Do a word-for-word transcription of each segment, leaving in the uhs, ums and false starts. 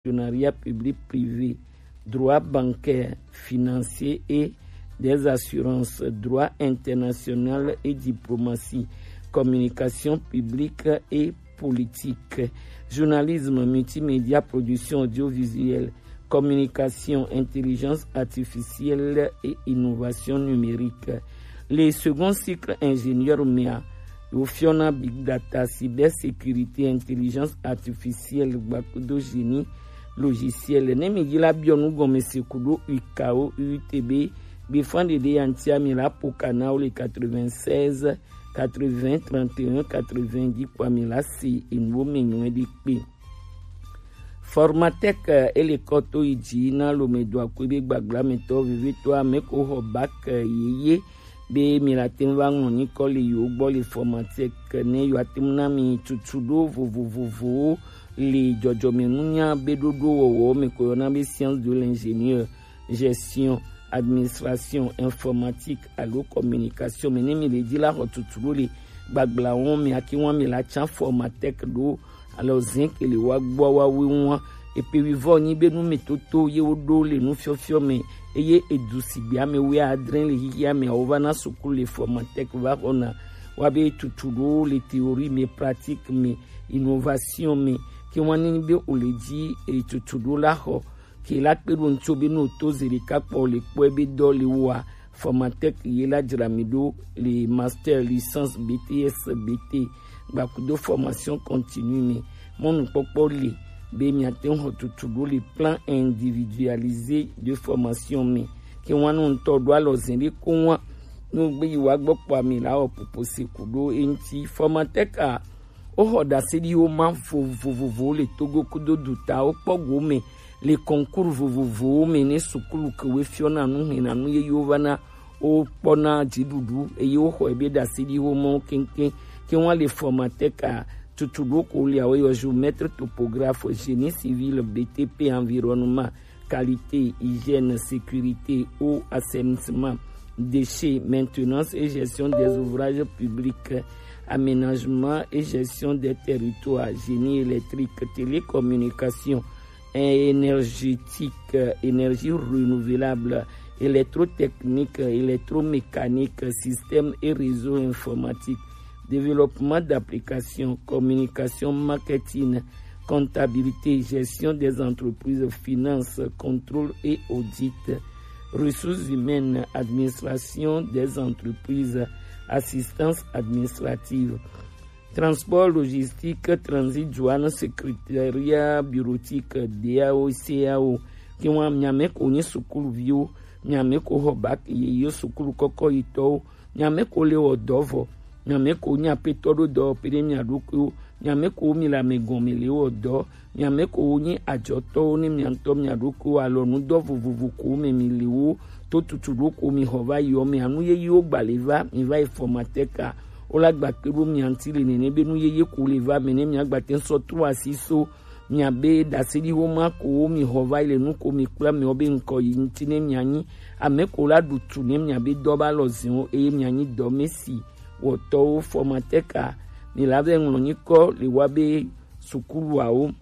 partenariat public-privé, droit bancaire, financier et des assurances, droit international et diplomatie, communication publique et politique, journalisme, multimédia, production audiovisuelle, communication, intelligence artificielle et innovation numérique. Le second cycle ingénieur mea, yo fiona big data, cybersécurité, intelligence artificielle, gbakudo génie logiciel. Ne mi yi la biɔ nu gɔme se kudo U K O, U T B, gbe fan de de yantia mi la po kana o le quatre-vingt-seize, quatre-vingts, trente et un, quatre-vingts, dikpɔ mi la si inu me nyuɛ di kpe. Formatec, eh, ele kɔ to yi dzi na lome do akui be gbagla me tɔ veve to ame ko xɔ bac, eh, yeye be mi la te ŋu va ŋlɔ nyikɔ le yewo gbɔ le Formatec ne yewoate ŋu na mi tutu ɖo vovovovowo le dzɔdzɔmenunya be ɖoɖo wɔwɔ me ko yɔna be science de l'ingénieur, gestion, administration, informatique alo communication me. Ne mi le dzi la xɔ tutu ɖo le gbaglawo me, ake wa mi la tsa Formatec ɖo alɔ zɛn ke le wa gbɔ wa we ŋua. Epe wi vɔ nyi be nu me toto ye wo ɖo le nufiɔfiɔ me, eye edu sigbe ame wuiadre le xixia me awo va na sukulu le Formatec va xɔna wa be tutu ɖo le théorie me, pratique me, innovation me. Ke wa ni be o le dzi e tutu ɖo la xɔ ke la kpe ɖo ŋutsu be no to ze ɖeka kpɔ le kpɔe be dɔ le woa, Formatec ye la dzra mi ɖo le master, licence, B T S, B T, gbakudo formation continue me. Mɔnukpɔkpɔ le be miate ŋu xɔ tutu ɖo le plan individualisé de formation me. Ke wa no ŋutɔ ɖo alɔ zɛn ɖe ko wa no gbe yi wa gbɔ kpɔ ami la wɔ popo se ku ɖo eŋuti. Formatec a Woxɔ ɖaseɖiwo ma vovovowo le Togo kudo dutawo kpɔ gome le concours vovovowo me ne sukulu kewo fiɔna nu hɛna nu yeyewo va na wo kpɔna dziɖuɖu eye woxɔ ebe ɖaseɖiwo mɔ keŋkeŋ. Ke wa le Formatec a tutu ɖo ko le awo yɔ géomètre, topographe, génie civil, B T P, environnement, qualité, hygiène, sécurité, eau, assainissement, déchets, maintenance et gestion des ouvrages publics, aménagement et gestion des territoires, génie électrique, télécommunication, énergétique, énergie renouvelable, électrotechnique, électromécanique, système et réseau informatique, développement d'applications, communication, marketing, comptabilité, gestion des entreprises, finances, contrôle et audit, ressources humaines, administration des entreprises, assistance administrative, transport, logistique, transit, douane, secrétariat bureautique, D A O, C A O. Ke wa miame ko nyi sukuluviwo, miame ko xɔ bac yeye, sukulu kɔkɔ yitɔwo, miame ko le wɔ dɔ vɔ, miame ko nyi apetɔ ɖo dɔ pe ne mia ɖokuiwo, miame ko mi le amegɔme le wɔ dɔ, miame ko nyi adzɔtɔwo ne mia ŋutɔ mia ɖokuiwo, alɔ nudɔ vovovo ko me mi le wo to tutu ɖo ko mi xɔ va yi ɔ me. Anu yeyewo gba le va mi va yi Formatec a, wo la gba kpe ɖo mia ŋuti le nene be nu yeye ko le va me ne mia gba te sɔ tro asi so miabe ɖaseɖiwo ma ko mi xɔ va yi le nu ko mi kpla mi wo be ŋkɔ yi ŋuti ne mianyi ame ko la ɖu tu ne miabe dɔ ba lɔ ziwo eye mianyi dɔmesi wɔtɔwo. Formatec a, mi la vɛ ŋlɔ nyikɔ le wa be sukuluawo,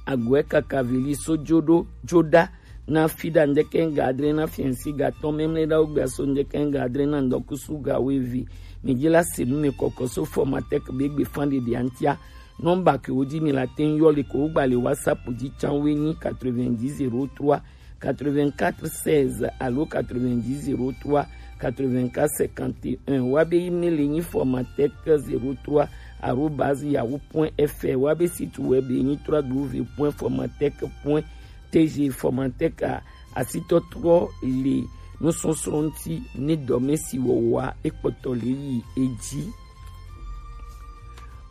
agbɛ kaka vili so jo ɖo jo ɖa na fi ɖa ŋdɛkɛ ŋga adre na fiɛnsi ga tɔn mɛmlɛ ɖa wo gbɛ so ŋdɛkɛ ŋga adre na ŋdɔkusu ga wo evi. Mi dzi la se nu mi kɔkɔ so Formatec be gbe fan ɖeɖe antia. Nɔmba ke wo dzi mi la te ŋu yɔ le ko wo gba le WhatsApp dzi tsan wo nyi quatre-vingt-dix zéro trois quatre-vingt-quatre seize alo quatre-vingt-dix zéro trois quatre-vingt-quatre cinquante et un. Wa be email nyi Formatec zéro trois arobase yahoo point F R. Wa be site web nyi trois W point formatec point T G. Formatec a asitɔtrɔ le nusɔsrɔ̃ ŋuti ne dɔmesi wɔwɔa ekpɔtɔ le yi edzi.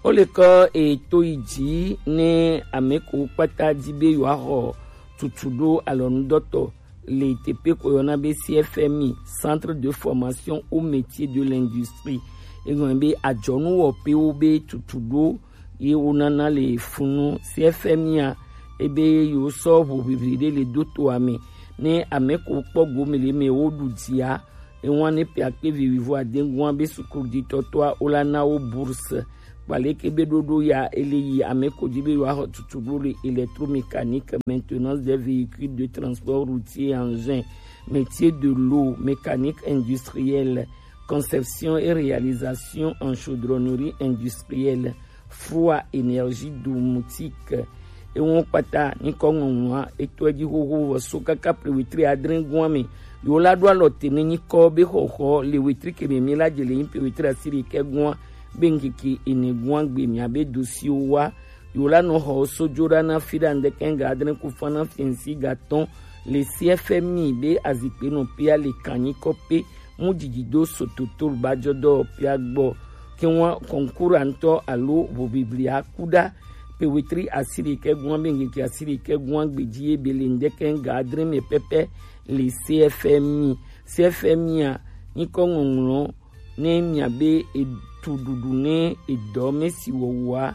Wo le kɔ eto yi dzi ne ame ko kpata di be yewoaxɔ tutu ɖo alɔnudɔtɔ le teƒe ko yɔna be C F M I, Centre de Formation au Métier de l'Industrie. Egɔme be adzɔnuwɔƒewo be tutu ɖo ye wonana le funu. C F M I a, ebe yewo sɔ ʋuʋiʋli ɖe le do toa me. Ne ame ko kpɔ gome le me wo ɖu dzia, ewa ne pe akpe vi wuivo ade gua be sukuɖitɔtɔa wo la na wo bourse. Kpaleke be ɖoɖo ya ele yi ame ko dzi be yewoaxɔ tutu ɖo le électromécanique, maintenance des véhicules de transport routier et engins, métier de l'eau, mécanique industrielle, conception et réalisation en chaudronnerie industrielle, froid, énergie domotique. Ewo kpata nyikɔ ŋɔŋlɔa etɔe dzi xoxo vɔ so kaka ple wetri adre gua me. Yewo la ɖo alɔ te ne nyikɔ be xɔxɔ le wetri ke me mi la dze le nyi ple wetri asiri ke gua be ŋkeke ene gua gbe mia be dosiwo wa. Yewo la nɔ xɔ so dzo ɖa na fi ɖa ŋdeke ga adre ku fa na fiɛnsi ga tɔn le C F M I be azikpe nɔ pea le kanyikɔ pe mu didi do sototo ba jɔ dɔ pea gbɔ. Ke ŋua kɔnkura ŋtɔ alo bobiblia ku ɖa pe wetri asiri ke gua be ŋkeke asiri ke gua gbedzi ye be le ŋdeke ga adre me pɛpɛ le C F M I. C F M I a nyikɔ ŋɔŋlɔ ne mia be etu ɖuɖu ne edɔ me si wɔwɔa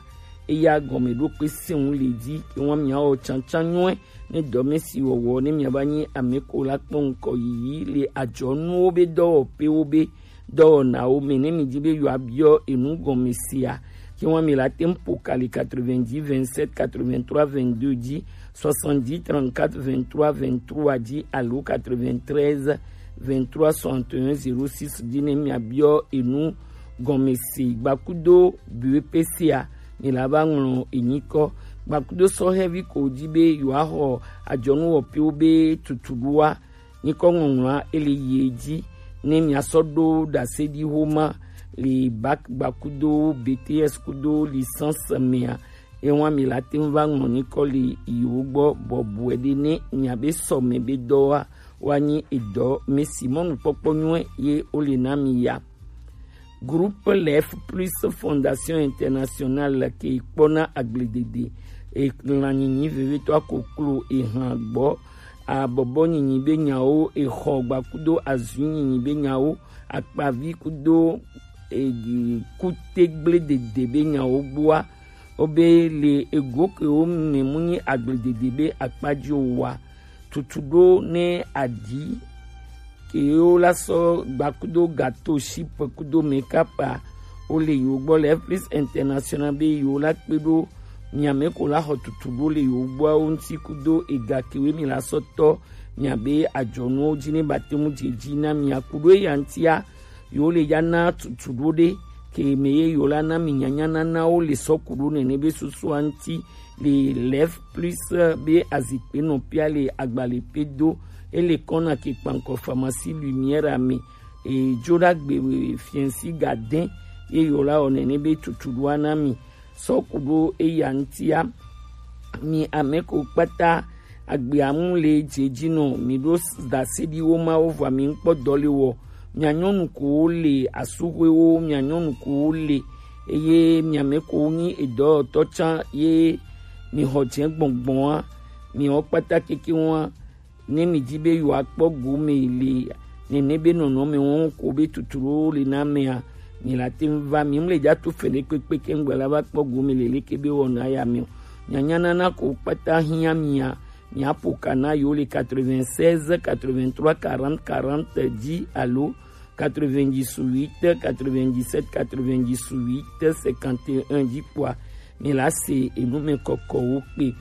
eya gɔme ɖo kpe seŋu le dzi ke ŋua mia wɔ tsantsan nyɔe ne dɔ me si wɔwɔ ne mia ba nyi ame ko la kpɔ ŋkɔ yiyi le adzɔnuwo be dɔwɔƒewo be dɔwɔnawo me ne mi dzi be yewoabiɔ enu gɔme sea ke ŋua mi la te ŋu ƒo ka le quatre-vingt-dix vingt-sept quatre-vingt-trois vingt-deux dzi soixante-dix trente-quatre vingt-trois vingt-trois dzi alo quatre-vingt-treize vingt-trois soixante et un zéro six dzi ne miabiɔ enu gɔme se gbakudo B E P C a mi la va ŋlɔ enyikɔ gbakudo sɔhɛvi ko dzi be yewoaxɔ adzɔnuwɔƒewo be tutuɖoa nyikɔ ŋɔŋlɔa ele yi edzi ne miasɔ ɖo ɖase ɖi xoma le bac gbakudo B T S kudo licence mea Ewa mi la te ŋu va ŋlɔ nyikɔ le yiwo gbɔ bɔbɔe ɖe ne miabe sɔme be dɔwa wa nyi edɔ me si mɔnukpɔkpɔ nyuie ye wole na mi ya. Groupe Lef Plus Fondation Internationale ke kpɔna agbledede, elanyinyi vevetɔ akoklo, ehan gbɔ, abɔbɔ nyinyi be nyawo, exɔ gbakudo azui nyinyi be nyawo, akpavi kudo e, kutegble dede be nyawo gbɔa, wobe le ego kewo me mu nyi agbledede be akpa dzi o wa. Tutu ɖo ne aɖi kewo la sɔ gba kudo gato, shipe kudo mekapa wole yewo gbɔ le F Plus International be yewo la kpe ɖo miame ko la xɔ tutu ɖo le yewo gbɔawo ŋuti kudo ega kewoe mi la sɔ tɔ miabe adzɔnuwo dzi ne ba te ŋu dze dzi na mia ku ɖo eya ŋutia. Yewo le ya na tutu ɖo ɖe ke me ye yewo la na mi nyanya nanawo le sɔ ku ɖo nene be susua ŋuti le Lef Plus be azikpe nɔ pia le agbale pe do ele kɔna ke kpankɔ pharmacie Lumière me e dzo ɖa gbe fiɛnsi ga dɛn ye yewo la wɔ nene be tutu ɖoa na mi sɔ ku ɖo eya ŋutia. Mi ame ko kpata agbea mu le dze dzi nɔ mi ɖo s- ɖaseɖiwo mawo vɔa mi ŋkpɔ dɔ le wɔ. Mia nyɔnu kowo le asuxwewo, mia nyɔnu kowo le eye mia me kowo nyi edɔyɔtɔ tsã ye mi xɔ dze gbɔngbɔn a mi wɔ kpata keke wa ne mi di be yewoakpɔ gome le nene be nɔnɔme wɔn ko be tuturo le na mea mi la te ŋu va mi mle dza to fele kpekpe ke ŋgbe la va kpɔ gome le leke be wɔna ya mi o. Nyanya nana ko kpata hiã mia miaƒo ka na yewo le quatre-vingt-seize quatre-vingt-trois quarante quarante dzi alo quatre-vingt-dix-huit quatre-vingt-dix-sept quatre-vingt-dix-huit cinquante et un dzi kpɔa mi la se enu me kɔkɔwo kpe.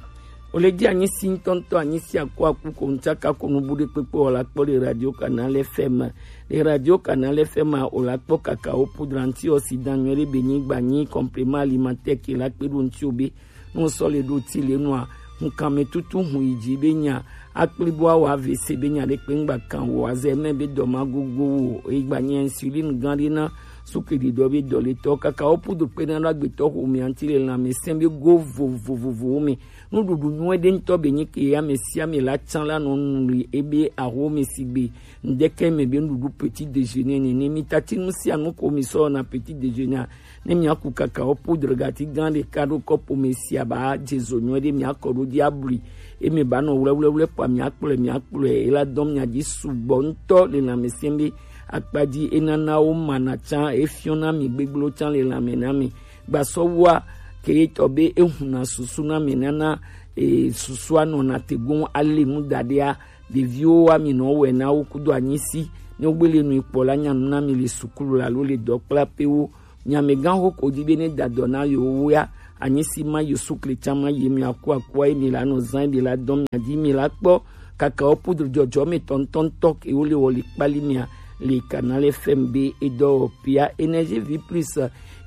Wole dzi anyi si ŋutɔŋutɔ anyi si akɔ aku ko ŋutsaka ko nubu ɖe kpekpe wòla kpɔ le Radio Canal F M. Le Radio Canal F M a wòla kpɔ kakawo poudre antioxydant nyuie ɖe be nyigba nyi complément alimentaire ke la kpe ɖo ŋuti o be ne wosɔ le ɖo ti le nua ŋkame tutu hu yi dzi be nya akpli bo awɔ A V C be nya ɖe kpe ŋgba kan wò azɛ mɛ be dɔ ma gogo wò o egba nyi insuline gã ɖe na suke ɖiɖɔ be dɔ le tɔ kakawo poudre kpe na ɖo agbetɔ xo mi anti le lãmesẽ be go vovovovowo me. Nuɖuɖu nyuie ɖe ŋutɔ be nyi ke ame sia ame la tsã la nɔ nu li ebe aho me si gbe ŋdeke me be nuɖuɖu petit déjeuner nene mi tati nu sia nu ko mi sɔ na petit déjeuner a ne mi aku kakawo poudre gati gã ɖeka ɖo kɔpo me sia ba dze zo nyuie ɖe mi akɔ ɖo dzi ablui eme ba nɔ wlɛwlɛwlɛ kpa mi akplɔe mi akplɔe ela dɔm nya dzi sugbɔ ŋutɔ le lãmesẽ be akpa dzi enana wo mana tsã efiɔna mi gbegblẽwo tsã le lãme na mi. Gbasɔwua ke ye tɔ be ehuna susu na mi nana e, susua nɔna te goŋ ale nu da ɖea ɖeviwo wa mi nɔ wɛ na wo kudo anyisi ne wogbele nu kpɔ la nyanu na mi le sukulu la lo le dɔkplaƒewo Nyamɛgan ho ko di be ne da dɔ na yo woya. Anyi si ma yo sukle can ma ye mi aku aku ye mi la nɔ zan bi la dɔn mi adi mi la kpɔ. Kaka o poudre jɔjɔ mi tɔntɔntɔ ke wo le wɔ le kpali mi a le Canal F M be e dɔ pia Énergie Vie Plus.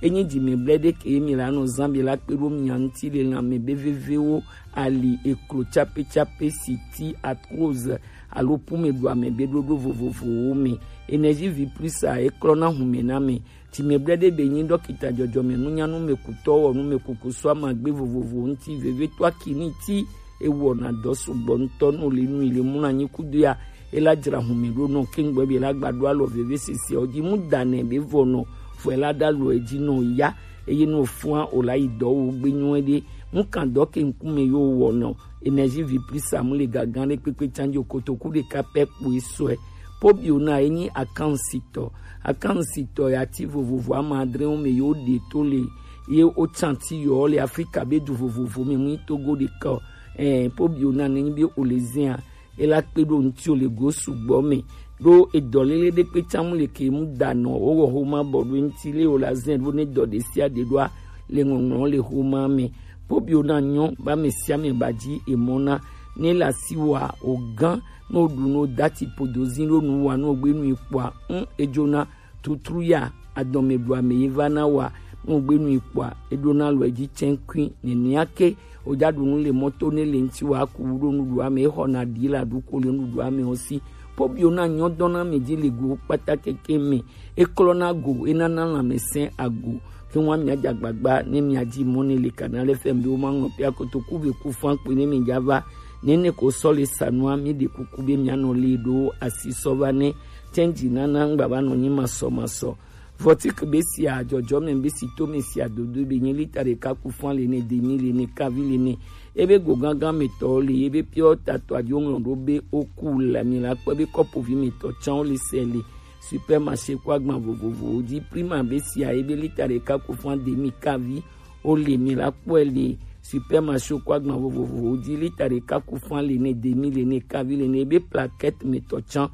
Enyi di mi blɛ de ke mi la nɔ zan bi la kpe ɖo mi anti le lan mi be veve wo ali eklo tsape tsape si ti arthrose alo pume ɖu ame be ɖoɖo vovovowo me. Énergie Vie Plus a eklɔ na hume na me. Tsi me blɛ ɖe be nyi ɖɔkita dzɔdzɔme nunyanu me kutɔ wɔ nu me kuku sɔ amagbe vovovo ŋuti veve to aki ni ti ewɔ na dɔ sugbɔ ŋutɔ nu le nu le mu na nyi kudo ya. Ela dzra hume ɖo nɔ kengbe be la gba ɖo alɔ veve sisi o dzi mu da nɛ be vɔ nɔ fɔ ela ɖa lɔ edzi nɔ ya. Eye nɔ fua o la yi dɔ wo gbe nyuɛ ɖe mu kan dɔ ke ŋkume yo wɔ nɔ. Énergie Vie Plus amu le gagan ɖe kpekpe tsandzo kotoku ɖeka pɛ kpoe sɔe. Pobio na enyi akansitɔ. Akansitɔ ya ti vovovo ama adre wo me yo ɖe to le ye o tsanti yɔ le Afrika be du vovovo me mu Togo ɖeka o. Eh, pobio na nenyi be o le zia ela kpe ɖo ŋuti o le go sugbɔ me ɖo edɔlele ɖe kpe tsamu le ke mu da nɔ o wɔ homa bɔ ɖo ŋuti le o la zɛ ɖo ne dɔ ɖe sia ɖe ɖoa le ŋɔŋlɔ le homa me. Pobio na nyɔ ba me sia me ba dzi emɔ na ne la si wa o gan no ɖu no dati podo zi ɖo nu wa no gbe nu ikpɔa ŋ edzona tutru ya adɔme ɖu ame ye va na wa no gbe nu ikpɔa eɖona lɔ edzi tsɛnkui nenia ke o ja ɖu nu le mɔto ne le ŋti wa ku ɖo nuɖu ame exɔ na ɖi la ɖu ko le nuɖu ame o si. Pobio na nyɔ dɔn na me dzi le go kpata keke me eklɔ na go enana lãmesẽ ago ke wa mia dza gbagba ne mia dzi mɔ ne le Canal F M be wo ma ŋlɔ pia kotoku ve ku fan kpe ne mi dza va nene ko sɔ le sanua mi ɖe kuku be mia nɔ le ɖo asi sɔ va ne tɛnji nana ŋgba va nɔ nyi masɔ masɔ. Vɔtik be sia dzɔdzɔme be si to me sia dodo be nyi lita ɖeka ku fan le ne demi le ne kavi le ne ebe go gangan me tɔ le ebe piɔ tatɔ adio ŋlɔ ɖo be oku la mi la kpɔ be kɔpo vi me tɔ tsan le sɛ le supermarché kó agban vovovowo dzi. Prima be sia ebe lita ɖeka ku fan demi kavi o le mi la kpɔe le supermarché kó agban vovovowo dzi. Lita ɖeka ku fan le ne demi le ne kavi le ne ebe plaquette me tɔ tsan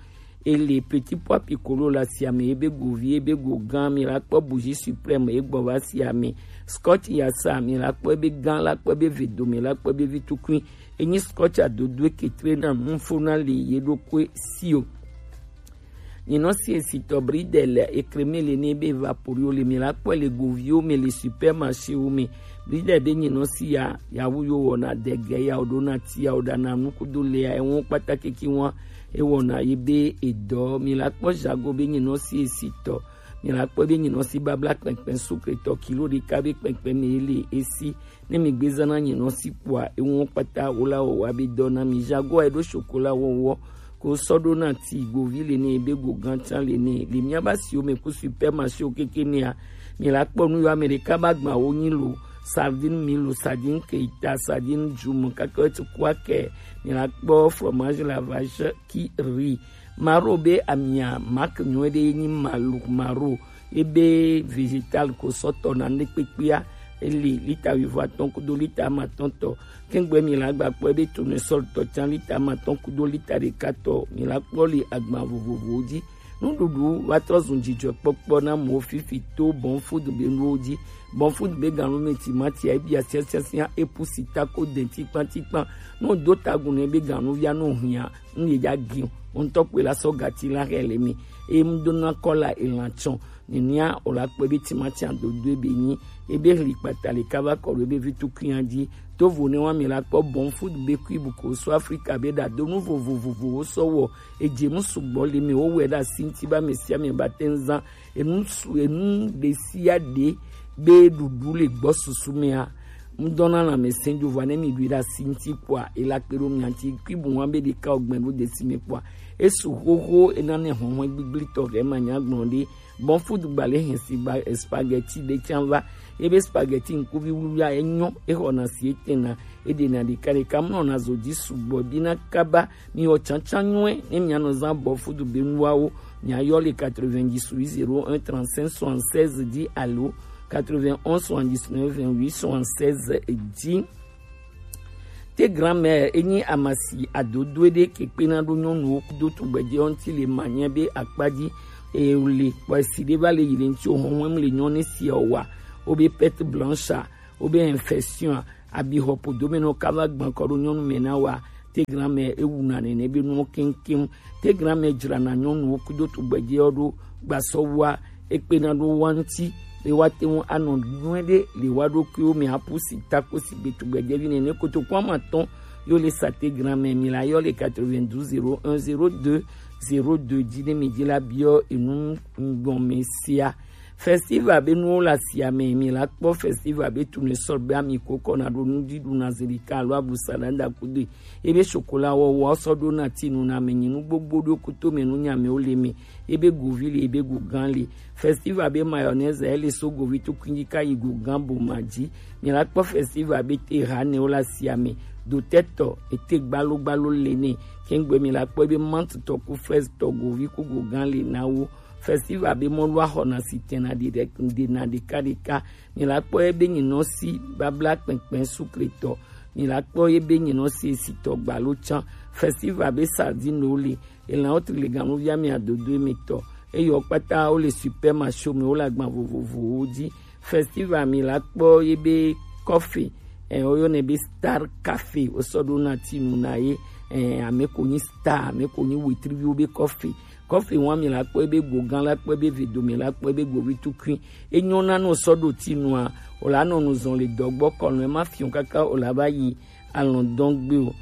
ele petit pois piccolo la sia me ebe govi ebe go gan mi la kpɔ bougie suprême egbɔ va sia me scotch ya sa mi la kpɔ ebe gan la kpɔ ebe vedo mi la kpɔ ebe vitukui enyi scotch adodo eke tre na mufo na le ye ɖokui si o. Nyinɔ si esitɔ bridel ekreme le ne be vaporio le mi la kpɔ le goviwo me le supermarché wo me. Bridel be nyinɔ si ya yawu yo wɔna dege ya o ɖona ti ya o ɖana nukudo le ya ewo kpata keke wa ewɔna ye be edɔ mi la kpɔ jago be nyinɔ si esitɔ mi la kpɔ be nyinɔ si babla kpɛnkpɛn sukretɔ kilo ɖeka be kpɛnkpɛn me le esi ne mi gbe zana nyinɔ si kpɔa ewo kpata wo la wɔ wa be dɔ na mi jago eɖo sokola wɔwɔ ko sɔ ɖo na ti govi le ne be go gan tsan le ne le mia ba siwo me ku supermarché wo keke nea mi la kpɔ nu yo Amerika ba gba wo nyi lo sardine mi lo sardine keita sardine jumu kaka ti kwa ke mi la kpɔ fromage la vache qui rit maro be amia mak nyuɛ ɖe nyi malu maro ebe vegetal ko sɔtɔ na ne kpekpea ele lita wivo atɔn kudo lita amatɔn tɔ kengbe mi la gba kpɔ ebe tournesol tɔ tsan lita amatɔn kudo lita ɖeka tɔ mi la kpɔ le agban vovovowo dzi. Nuɖuɖu va trɔ zun dzidzɔkpɔkpɔ na mɔ fifi to bɔn food be nuwo dzi. Bɔn food be ganu me timati ebi asiasiasia epu sita ko denti kpantikpan no do tagun ne be ganu via no hia n ye dza gi o ŋutɔ kpe la sɔ gati la hɛ le mi eye ŋdona kɔla elan tsɔ nenia o la kpe be timati adodo ebe nyi ebe hli kpata le kava kɔ ɖo ebe vi tukunya dzi to vo ne wa mi la kpɔ bɔn food be kui bu ko so Afrika be ɖa do nu vovovovowo sɔ wɔ edze mu sugbɔ le mi wo wɛ ɖe asi ŋti ba me sia me ba te ŋ zan enu su enu ɖe sia ɖe be ɖuɖu le gbɔ susu mea ŋdɔna lãmesẽ dzo vɔ ne mi ɖui ɖe asi ŋti kpɔa ela kpe ɖo mia ŋti kui bu wa be ɖeka o gbɛn ɖo desi me kpɔa esu xoxo ena ne hɔhɔn gbigblitɔ hɛ ma nya gblɔ ɖe bɔn food gba le hɛn si gba spaghetti ɖe tsan va ebe spaghetti ŋkuvi wluwlua enyɔ exɔna si etena eɖena ɖeka ɖeka mlɔna zo dzi sugbɔ dina kaba mi wɔ tsantsan nyuɛ ne mia nɔ zan bɔn food be nuwawo mia yɔ le quatre-vingt-dix huit zéro un trente-cinq soixante-seize dzi alo quatre-vingt-onze soixante-dix-neuf vingt-huit soixante-seize dzi. Te grand-mère enyi amasi adodoe ɖe kekpena ɖo nyɔnuwo kudo tugbedzewo ŋti le manyɛ be akpa dzi e le kpɔ esi ɖe va le yi le ŋuti o hɔn hɔn le nyɔnu si o wa o be perte blanche a o be infection a abi xɔ podo me nɔ ka va gbɔn kɔ ɖo nyɔnu me na wa te gran mɛ ewu na nene be nuwo keŋkeŋ te gran mɛ dzra na nyɔnuwo kudo tugbɛdze ɔ ɖo gbasɔ wa ekpena ɖo wa ŋuti be wa te ŋu anɔ nyuie ɖe le wa ɖokuiwo me apu si ta ko si gbe tugbɛdzevi nene kotoku ama tɔn yo le sa te gran mɛ mi la yɔ le quatre-vingt-douze zéro un zéro deux zéro deux dzi ne mi dzi la biɔ enu ŋgɔme sia. Festival be nuwo le asia me mi la kpɔ festival be tunu sɔ be ami ko kɔ na ɖo nuɖuɖu na zeli ka alo abusa na da kudo ebe chocolat wɔwɔ sɔ ɖo na tinu na me nyi nu gbogbo ɖo kuto me nu nya me wo le me ebe govi le ebe gogan le. Festival be mayonnaise ele so govi to kuinji ka yi gogan bo ma dzi. Mi la kpɔ festival be te ha ne wo le asia me do tetɔ ete gbalo gbalo le ne kengbe mi la kpɔ ebe mant tɔ ku fraise tɔ govi ku gogan le na wo. Festival be mɔlu axɔna si tɛna ɖi ɖe ɖena ɖekaɖeka. Mi la kpɔ ye be nyinɔ si babla kpɛnkpɛn sukretɔ. Mi la kpɔ ye be nyinɔ si esitɔ gbalo can. Festival be sardine wo le elan wo tri le ganuvia mi adodo emetɔ. Eyɔ kpata wo le supermarché me wo le agban vovovowo dzi. Festival mi la kpɔ ye be kɔfe ɛ woyɔnɛ be star cafe wosɔ ɖo na tinu na ye ɛ ame ko nyi star ame ko nyi wetriviwo be kɔfe. Kɔfe wa mi la kpɔ ebe gogan la kpɔ ebe vedo mi la kpɔ ebe govi tukui enyɔ na no sɔ ɖo tinua o la nɔ nu zɔn le dɔgbɔ kɔnɔ ema fiɔ kaka o la va yi alɔndɔn gbe o.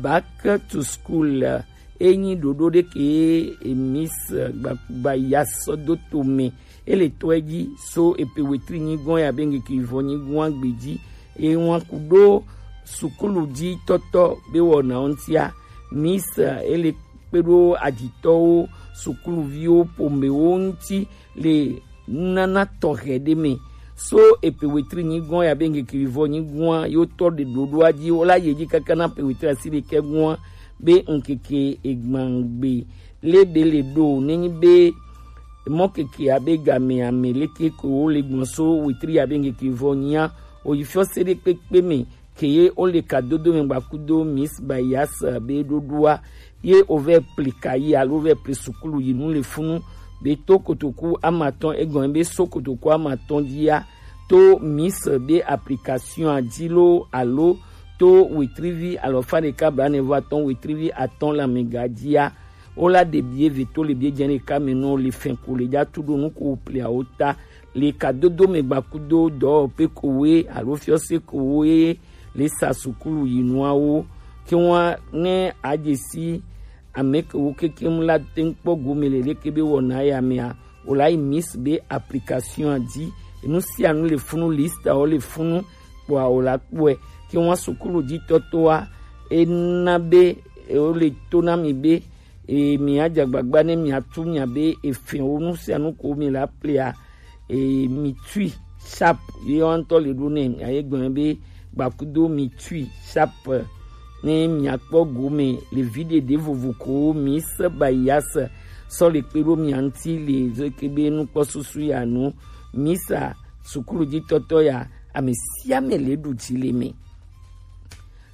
Back to school enyi ɖoɖo ɖe ke miss gbagba ya sɔ do to me ele tɔe dzi so epe wetri nyigɔn ya be ŋkeke vɔ nyigɔn agbe dzi eye ŋua ku ɖo sukulu dzi tɔtɔ be wɔna ŋutia miss ele kpe ɖo adzitɔwo sukuluviwo pomewo ŋuti le nunana tɔxɛ ɖe me so epe wetri nyigɔn ya be ŋkeke vɔ nyigɔn yo tɔ ɖe ɖoɖoa dzi wo la yi edzi kaka na pe wetri asi ɖekɛ gɔn be ŋkeke egbangbe le be le ɖo nenyi be mɔkeke abe game ame leke ko wo le gbɔn so wetri abe ŋkeke vɔ nyia oyi fiɔ se ɖe kpekpe me ke ye wo le ka dodo me gba kudo miss bayas be ɖoɖoa ye wo vɛ pli ka yi alo vɛ pli sukulu yi nu le funu be to kotoku amatɔn egɔn be so kotoku amatɔn dzia to miss be application a dzi lo alo to wetrivi alɔfa ɖeka blanevɔ atɔn wetrivi atɔn le amega dzia wo la ɖe bie ve to le bie dze ɖeka me nɔ le fɛn ko le dza tu ɖo nu ko wo pli awo ta le ka dodo me gba kudo dɔwɔƒe ko woe alo fiɔse ko woe le sa sukulu yi nuawo ke wa ne adze si ame ke wo kekem la te ŋu kpɔ gome le leke be wɔna ya mea o la yi miss be application a dzi nu sia nu le funu lista wo le funu kpɔa o la kpɔe ke wa sukulu dzi tɔtɔa ena be o le to na mi be e mi adze agbagba ne mi atu mia be efɛn wo nu sia nu ko mi la plia e mi tui sharp ye ŋutɔ le ɖo nɛ aye gblɔ be gbakudo mi tui sharp ne miakpɔ gome le vi ɖeɖe vovo ko mi se bayas sɔ le kpe ɖo mia ŋuti le zeke be nukpɔ susu ya nu misa sukulu dzi tɔtɔ ya ame sia ame le ɖu dzi le me.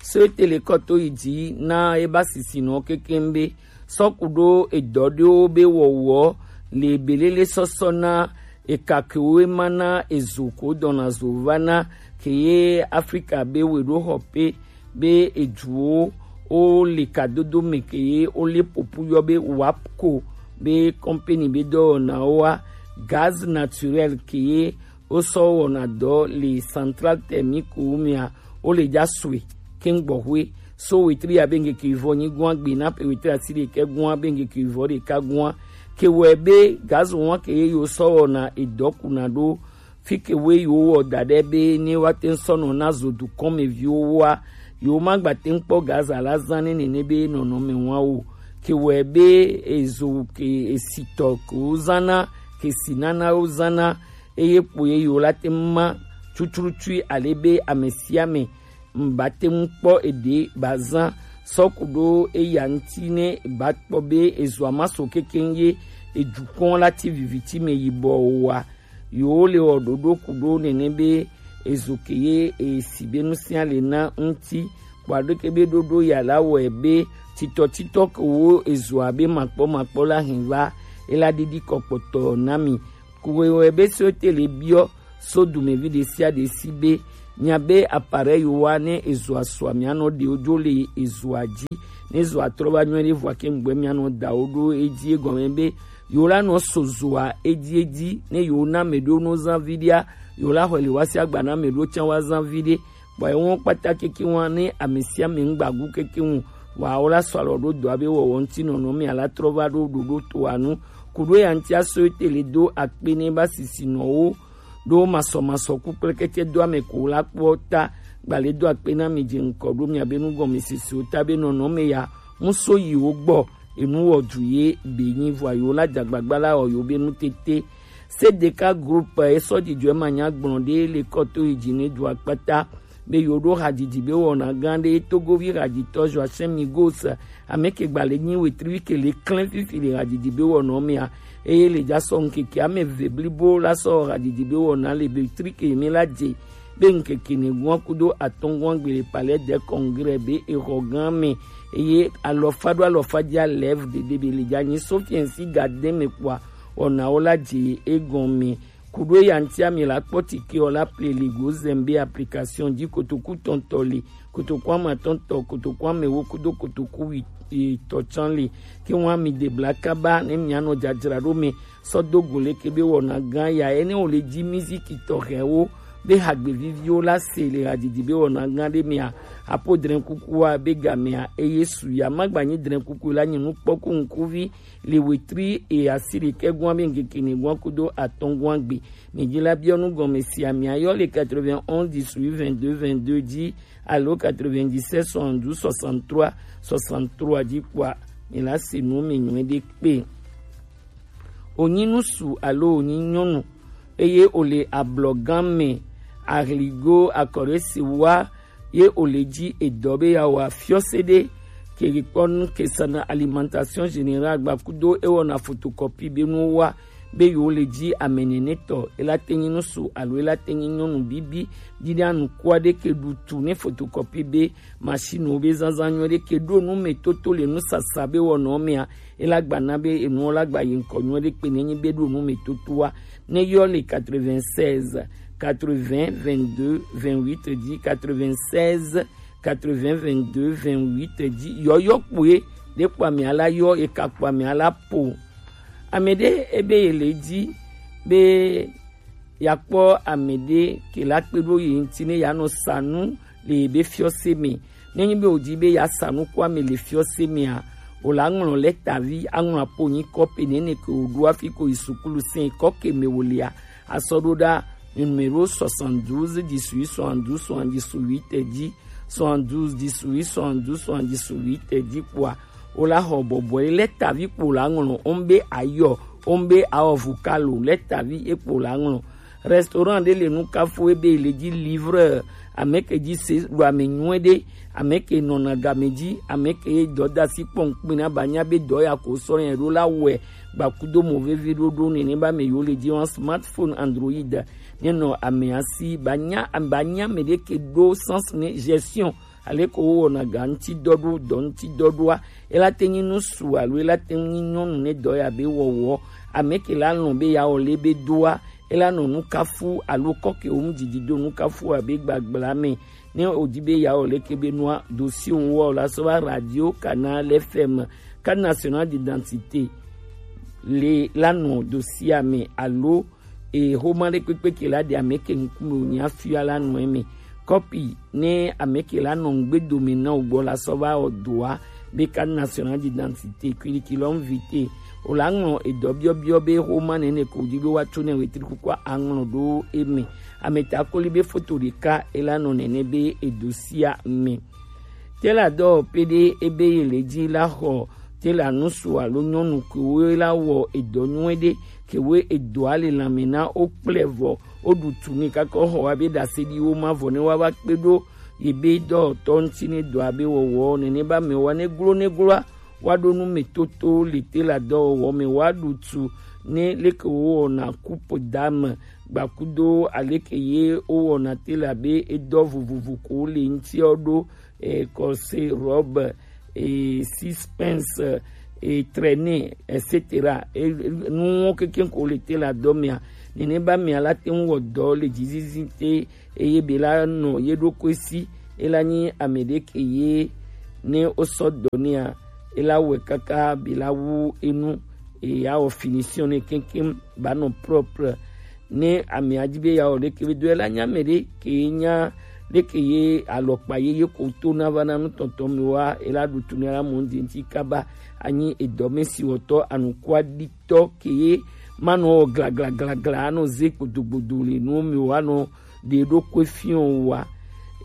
So ete le kɔ to yi dzi na eba sisinɔ kekeŋ be sɔ ku ɖo edɔ ɖewo be wɔwɔ le belele sɔsɔ na eka kewo ema na ezo ko dɔna zo va na ke ye Afrika be we ɖo xɔ pe be eduwo wo le kadodo me ke ye wo le popu yɔ be wapco be kɔmpeni be dɔwɔnawo wa gaz naturel ke ye wo sɔ wɔna dɔ le central thermique wo mea wo le dza sue keŋ gbɔxwe so wetri ya be ŋkeke vɔ nyi gua gbe na pe wetri asi ɖekɛ gua be ŋkeke vɔ ɖeka gua ke wɔe be gazo wa ke ye yo sɔ wɔna edɔ kuna ɖo fi ke we yo wɔ da ɖe be ne wa te sɔ nɔ na zo dukɔn me viwo wa yo ma gba te kpɔ gaza la zan ne nene be nɔnɔme wa o ke wɔe be ezo ke esitɔ ke wo zana ke sinana wo zana eye kpo ye yewo la te ŋu ma tututu ale be ame sia ame ŋu ba te ŋu kpɔ eɖe ba zã sɔ ku ɖo eya ŋuti ne ba kpɔ be ezoa ma so kekeŋ ye edukɔn la ti viviti me yibɔ o wa. Yewo le wɔ ɖoɖo ku ɖo nene be ezo ke ye esi be nusia le na ŋuti kpɔ aɖeke be ɖoɖo ya la wɔe be titɔtitɔ ke wo ezoa be makpɔmakpɔ la hɛn va e la ɖiɖi kɔ kpɔtɔ na mi. Kuwe wɛ be so ete le biɔ so dumevi ɖe sia ɖe si be, miabe appareil wa ne ezo asua mianɔ ɖe wodzo le ezoa dzi, ne ezoa trɔ va nyuie ɖe vɔa ke ŋgbɛ mianɔ da wo ɖo edzi egɔme be yewo la nɔ so zoa edzi edzi, ne yewo na ame ɖewo no zã viɖea, yewo la xɔe le wa si agba na ame ɖewo tsã wa zã viɖe. Bɔ ewo kpata keke wa ne ame sia ame ŋgbagu keke ŋu, wa wo la sɔ alɔ ɖo dɔa be wɔwɔ ŋuti nɔnɔ mea la trɔ va ɖo ɖoɖo toa nu. Kuɖo ya ŋuti aso ete le do akpe ne ba sisi nɔ wo ɖo masɔmasɔ ku kple keke do ame ko la kpɔ ta. Gbale do akpe na mi dze ŋkɔ ɖo miabe nugɔmesese wo ta be nɔnɔ me ya ŋu so yi wo gbɔ enu wɔ du ye be nyi vɔa yewo la dzagbagba la wɔ yewo be nu tete. Sedeka group esɔ dzidzɔe manya gblɔ ɖe le kɔto yi dzi ne dua kpata be yewo ɖo hadzidzi be wɔna gã ɖe togovi hadzitɔ Joachim Migos, ame ke gba le nyi wetri ke le klɛn fifi le hadzidzi be wɔna mea, eye le dza sɔ ŋkeke ame eve blibo la sɔ hadzidzi be wɔna le be tri ke mi la dze be ŋkeke ne gua kudo atɔngua gbe le palais de congrès be exɔ gã me, eye alɔfa ɖo alɔfa dzi alɛv dede be le dza nyi sofiɛnsi ga de me kpɔa wɔnawo la dze egɔme. Kuɖo ya ŋutia mi la kpɔ tike ɔ la ple le go zembe application dzi kotoku tɔntɔ le, kotoku amatɔntɔ, kotoku amewo kudo kotoku wi tɔ tsã le. Ke ŋua mi de bla kaba ne mianɔ dzadzraɖo me sɔ do go leke be wɔna gã ya ene wo le dzi miziki tɔxɛwo be hagbe viviwo la se le hadzidzi be wɔna gã ɖe mea, apo drɛn kukua be gamea eye su ya magbanyi drɛn kuku la nyi nukpɔku ŋkuvi le wetri e asi ɖekɛ gɔn be ŋkeke ne gɔn kudo atɔngɔn gbe. Mi dzi la biɔ nu gɔme sia mia yɔ le quatre-vingt-onze dix-huit vingt-deux vingt-deux dzi alo quatre-vingt-dix-sept soixante-douze soixante-trois soixante-trois dzi kpɔa, mi la se nu mi nyuie ɖe kpe. Wònyi ŋutsu alo wònyi nyɔnu, eye wòle ablɔgã me, ahligo akɔɖe si wa ye wòle dzi edɔ be yeawɔ afiɔse ɖe, ke kpɔ nu ke sana alimentation générale gbakudo ewɔna photocopie be nuwo wa be yewo le dzi ame nene tɔ, ela te nyi ŋutsu alo ela te nyi nyɔnu bibi, dzi ɖe anukua ɖe ke ɖu tu ne photocopie be machine wo be zazã nyuie ɖe ke ɖo nu me toto le nusasa be wɔnɔ mea, ela gba na be enuwo la gba yi ŋkɔ nyuie ɖe kpe ne nyi be ɖo nu me totoa. Ne yɔ le quatre-vingt-seize quatre-vingts vingt-deux vingt-huit dzi, quatre-vingt-seize quatre-vingts vingt-deux vingt-huit dzi, yɔyɔ kpoe ɖe kpɔ ame ala yɔ, eka kpɔ ame ala po. Ame ɖe ebe ye le dzi be yakpɔ ame ɖe ke la kpe ɖo ye ŋuti ne yanɔ sa nu le yebe fiɔse me. Nenye be wòdi be yeasa nuku ame le fiɔse mea, wòle aŋlɔ lɛtavi aŋlɔ apo nyi kɔpe nene ke wòɖo hafi ko yi sukulu sɛn kɔ ke me wòlea, asɔ ɖo ɖa numéro soixante-douze dix-huit soixante-douze soixante-dix-huit dzi, soixante-douze dix-huit soixante-douze soixante-dix-huit dzi kpɔa, wòle axɔ bɔbɔe lɛtavi kpo le aŋlɔ, wombe ayɔ, wombe awɔ vukalo lɛtavi ekpo le aŋlɔ. Restaurant ɖe le nu kafu ebe le dzi livreur, ame ke dzi se ɖo ame nyuie ɖe, ame ke nɔna game dzi, ame ke dɔdasi kpɔn kpina ba nya be dɔ ya ko sɔ yɛ ɖo la wɛ gbakudo mo vevi ɖoɖo nene ba me yo le dzi wan smartphone Android ne nɔ ame asi ba nya ba nya me ɖe ke ɖo sens ne gestion ale ko wo wɔna ga ŋuti dɔ ɖo dɔ ŋuti dɔ ɖoa, ela te nyi nu su alo ela te nyi nyɔnu ne dɔ ya be wɔwɔ, ame ke la lɔn be ya wɔ le be doa, ela nɔ nu kafu alo kɔke wo mu didi do nu kafu abe gbagbla me. Ne o di be ya wɔ le ke be nua dossier wo wɔ la sɔ va radio Canal F M, carte nationale d'identité le la nɔ dossier me alo e xoma ɖe kpekpe ke la ɖe ame ke ŋkume wònye afia la nɔ eme. Kɔpi ne ame ke la nɔ ŋgbe dome na wò gbɔ la sɔ va wɔ dɔa be carte nationale d'identité, curriculum vitae. Wòle aŋlɔ edɔ biɔbiɔ be xoma nene ko wòdi be woatso ne wetri kukua aŋlɔ ɖo eme. Ame ta koli be foto ɖeka ela nɔ nene be edosia me. Te la dɔ pe ɖe ebe ye le dzi la xɔ te la nusu alo nyɔnu kewo la wɔ edɔ nyuie ɖe kewo edɔa le lãme na wo kple vɔ wo ɖu tu ne kakɔ xɔ wa be ɖase ɖi wo ma vɔ ne wa va kpe ɖo ye be dɔwɔtɔ ŋuti ne dɔa be wɔwɔ nene ba me wa ne glo ne gloa wa ɖo nu me toto le te la dɔwɔwɔ me wa ɖu tu ne leke wo wɔna coupe d'âme gbakudo aleke ye wo wɔna te la be edɔ vovovo ko le ŋuti wo ɖo eh, corset, robe, eh, six pinces, e, traîner, et cetera. E, nuwo kekeŋ ko le te la dɔ mia. Nene ba mia la te ŋu wɔ dɔ le dzizizi te, eye be la nɔ ye ɖokui si, e la nyi ame ɖe ke ye ne wo sɔ dɔ nea, e la wɛ kaka be la wu enu, e ya wɔ finition ne keŋkeŋ ba nɔ propre. Ne ame adi be ya wɔ ɖeke be do, e la nya ame ɖe ke nya ɖeke ye alɔkpa ye ye ko to na va na nutɔntɔ mi wa, e la ɖu tu ne la mo ŋdi ŋti kaba anyi edɔ me si wɔtɔ anukua ɖi tɔ ke ye manɔ wɔ glaglaglagla anɔ ze gbodogbodo le nuwo me o, anɔ ɖe ɖokui fiɔ wa.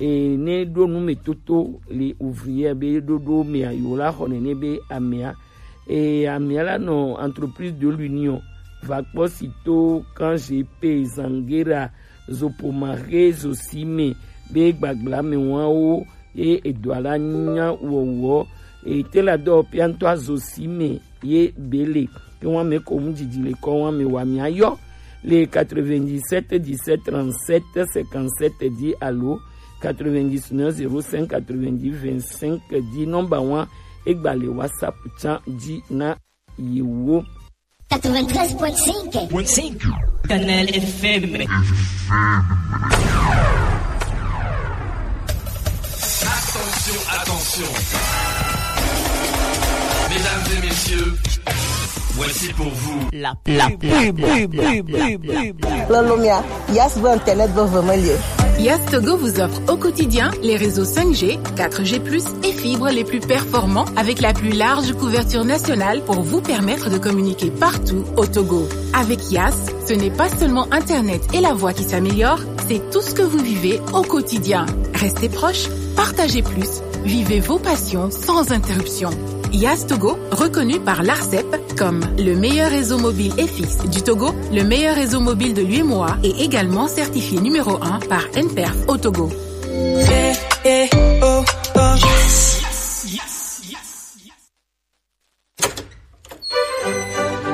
E, ne ɖo nu me toto le ouvrière be ɖoɖo mea, yewo la xɔ nene be amea. E, amea la nɔ Entreprise de l'Union, va kpɔ si to Kan G P, Zangera, Zopomare, Zosime be gbagbla me wawo, ye edɔa la nya wɔwɔ. Ete la dɔ pia ŋutɔ azo si me ye bele. Ke wa me ko mu dzidzi le kɔ wa me wa mi ayɔ le quatre-vingt-dix-sept dix-sept trente-sept cinquante-sept dix alo quatre-vingt-dix-neuf zéro cinq quatre-vingt-dix vingt-cinq dix. Nɔmba wa egba le WhatsApp tsa dzi na yewo. Quatre-vingt-treize point cinq. Canal F M. Attention, attention. Mesdames et messieurs, voici pour vous la pub. La pub. Lolomia, Yas veut Internet veut vraiment lieu. Yas Togo vous offre au quotidien les réseaux cinq G, quatre G plus et fibres les plus performants avec la plus large couverture nationale pour vous permettre de communiquer partout au Togo. Avec Yas, ce n'est pas seulement Internet et la voix qui s'améliore, c'est tout ce que vous vivez au quotidien. Restez proche, partagez plus, vivez vos passions sans interruption. Yas Togo, reconnu par l'ARCEP comme le meilleur réseau mobile et fixe du Togo, le meilleur réseau mobile de l'UEMOA et également certifié numéro un par N P E R F au Togo.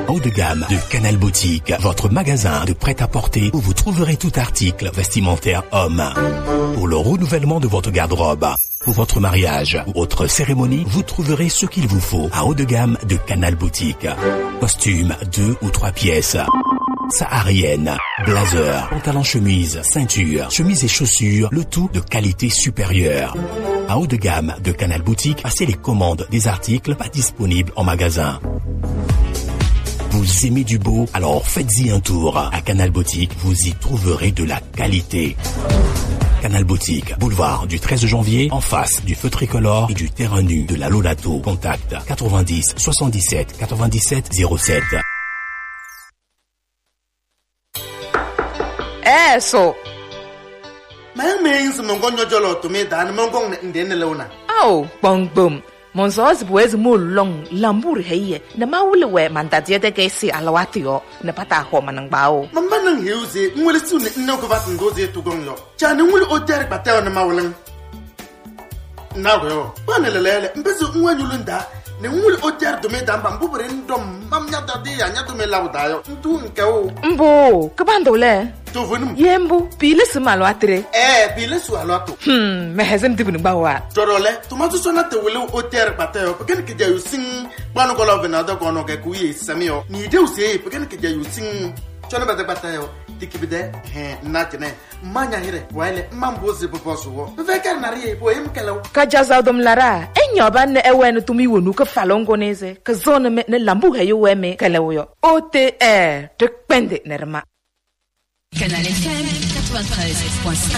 Haut de gamme de Canal Boutique, votre magasin de prêt-à-porter où vous trouverez tout article vestimentaire homme. Pour le renouvellement de votre garde-robe, pour votre mariage ou autre cérémonie, vous trouverez ce qu'il vous faut à haut de gamme de Canal Boutique. Costume deux ou trois pièces. Saharienne, blazer, pantalon chemise, ceinture, chemise et chaussures, le tout de qualité supérieure. À haut de gamme de Canal Boutique, passez les commandes des articles pas disponibles en magasin. Vous aimez du beau ? Alors faites-y un tour. À Canal Boutique, vous y trouverez de la qualité. Canal Boutique, boulevard du treize janvier, en face du feu tricolore et du terrain nu de la Lolato. Contact quatre-vingt-dix soixante-dix-sept quatre-vingt-dix-sept zéro sept. Eh, so. Mɛ mɛ ŋsɔ mɛ ŋgɔ nyɔdzɔ lɔ tome da ne mɛ ŋgɔ ŋde ne le wona. Ao, kpɔngbom. Mɔnzɔ zibu ezi mo lɔŋ lambur heye. Ne ma wule wɛ mandadiɛ de ke si alawati yɔ. Ne pata hɔ manangba o. Mɛ mba nang heu ze ŋwele su ne ŋnɛ ko va tindo ze tu gɔŋ yɔ. Ca ne ŋwele o tɛri kpatɛ yɔ ne ma wule. Na wɛ o. Ba ne lele le. Mbezi ŋwɛ nyulu nda. Ne ŋwele o tɛri dome da mba mbubere ndɔ mam nya da de ya nya dome la da yɔ. Ntu nke o. Mbo, ke ba ndo le. To vonu. Ye mbu, pile su malo atre. Eh, pile su alo ato. Hmm, me hezem dibu ni ba wa. Toro le, to ma tu so na te wele o tɛri kpatɛ yɔ. Pekeni ke ja yusin. Ba no ko lo vena do ko no ke ku ye sami yɔ. Ni de u se, pekeni ke ja yusin. Cho ne bata kpatɛ yɔ. Tiki bide, he, na tene. Manya hire, waile, mambo ze bobo suwo. Ve kar na rie, bo em kelo. Ka jaza dom lara, enyo ba ne ewe no tumi wonu ke falongo neze, ke zone me ne lambu he yo we me kele wo yo. O T R, te kpende ne rema. Canal F M quatre-vingt-treize point cinq.